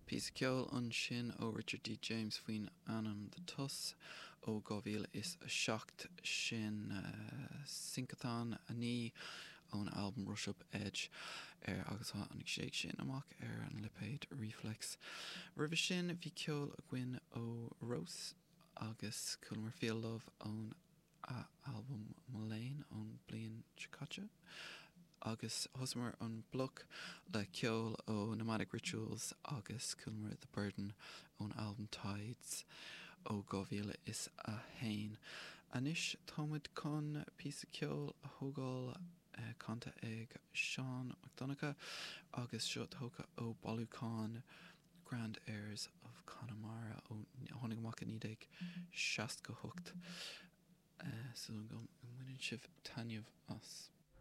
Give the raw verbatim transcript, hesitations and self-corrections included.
Píosa ceoil ansin ó Richard D. James faoin ainm The Tuss ó dhá mhíle is a seacht sin uh, Syncathan a naoi ón albam Rush Up Edge ar agus tháinig sé sin amach ar an lipéad Rephlex. Roimhe sin bhí ceol againn ó Rós agus chualamar Feel Love ón albam Mullane ón bliain seo caite. agus thosaíomar an bloc le ceol ó Nomadic Rituals agus chualamar The Burden ón albam Tides ó dhá mhíle is a haon. Anois táimid chun píosa ceoil a thógáil eh, canta ag Seán Mac Donncha agus seo tógtha ó bailiúchán Grand Airs of Connemara ó tháinig amach i naoi déag seasca hocht. Uh, so go mbaineann sibh taitneamh as.